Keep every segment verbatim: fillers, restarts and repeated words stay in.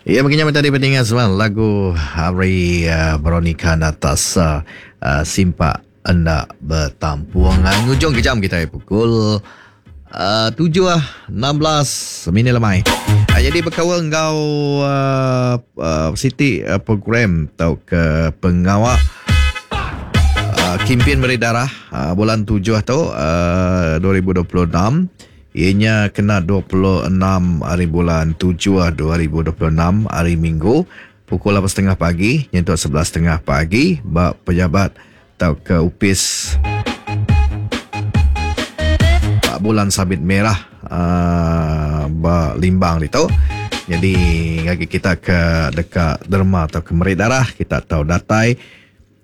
Ya, begini tadi pentingnya semua lagu Hari uh, Veronica Natasha uh, Simpak Enda Betampung. Uh, ngujung ke jam kita pukul uh, tujuh enam belas minit lemai. Uh, jadi berkawal ngau uh, uh, Siti uh, program atau ke pengawak uh, Kimpin Beri Darah uh, bulan tujuh tu uh, dua ribu dua puluh enam. Ianya kena dua puluh enam hari bulan tujuh dua ribu dua puluh enam hari Minggu pukul lapan setengah pagi nyentuk sebelas setengah pagi bak pejabat atau ke upis bak bulan sabit merah uh, bak Limbang itu. Jadi bagi kita ke dekat derma atau ke merik darah kita tahu datai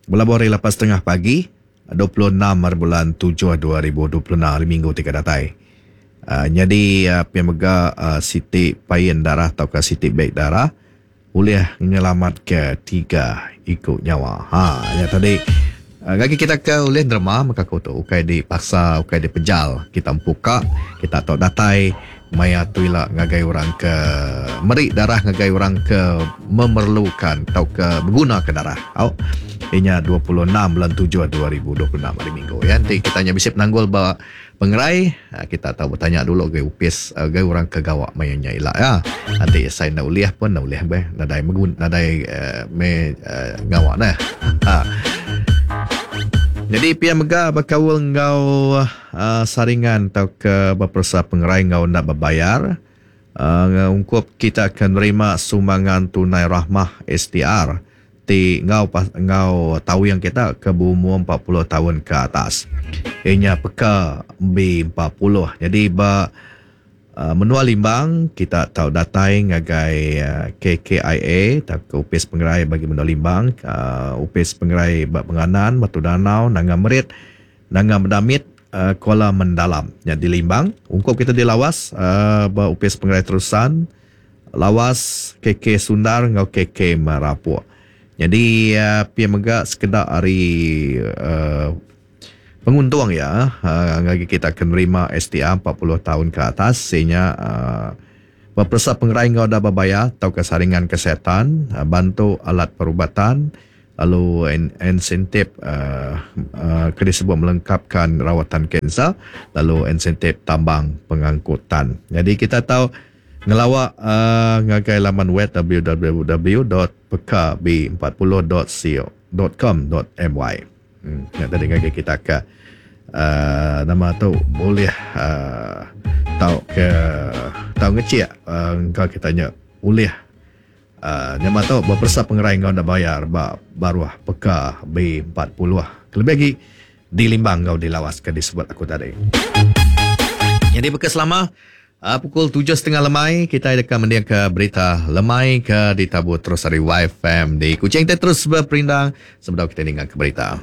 berlabuh hari lapan setengah pagi dua puluh enam hari bulan tujuh dua ribu dua puluh enam hari Minggu tiga datai. Uh, jadi uh, pemega uh, Siti Payen Darah atau ke Siti Beg Darah boleh menyelamat ke tiga ikut nyawa. Ha, ya tadi uh, bagi kita ke oleh derma maka aku tu ukai dipaksa, ukai dipejal, kita empuka, kita tahu datai maya tuila ngagai orang ke merik darah ngagai orang ke memerlukan atau ke berguna ke darah. Au. Inya dua puluh enam bulan tujuh dua ribu dua puluh enam hari Minggu ya. Nanti kita nya bisa penanggul ba pengerai, kita tahu bertanya dulu ke upis ke orang ke gawak mayanya ila ya. Nanti saya nak uliah pun nak uliah be nadai megun nadai uh, me uh, ngawak dah. Ha. Jadi pia mega berkaul ngau uh, saringan atau ke berpersa pengerai ngau nak berbayar. Uh, ungkup kita akan nerima sumbangan tunai rahmah S T R ti ngau ngau tahu yang kita ke berumur empat puluh tahun ke atas. Ianya peka B empat puluh. Jadi ba uh, menua Limbang kita tahu datai ngagai uh, K K I A atau ke Upis Pengerai bagi menua Limbang, uh, Upis Pengerai ba Penganan, Batu Danau, Nanga Merit, Nanga Medamit, uh, Kuala Mendalam. Yang di Limbang, ungkup kita di Lawas, uh, ba Upis Pengerai Terusan, Lawas, K K Sundar ngau K K Merapuk. Jadi uh, pia mega sekedar hari uh, penguntung ya, uh, bagi kita akan nerima S T R empat puluh tahun ke atas sehingga uh, berpersa pengerai ngau dah berbayar atau kesaringan kesihatan, uh, bantu alat perubatan, lalu insentif uh, uh, kena sebut melengkapkan rawatan kanser, lalu insentif tambang pengangkutan. Jadi kita tahu ngelawak uh, ngagai laman web w w w dot p k b empat puluh dot co dot com dot m y. Hmm, ya, tadi ngagai kita ke uh, nama tu boleh uh, tahu ke tahu ngecek uh, engkau kita nya boleh uh, nama tu berpersa pengerai engkau dah bayar ba baruah P K B empat puluh. Lebih lagi di Limbang engkau dilawas ke disebut aku tadi. Jadi bekas lama Uh, pukul tujuh setengah lemai kita akan mendengar ke berita lemai ke ditabur terus dari Y F M di Kuching. Kita terus berperindang sebelum kita dengar ke berita.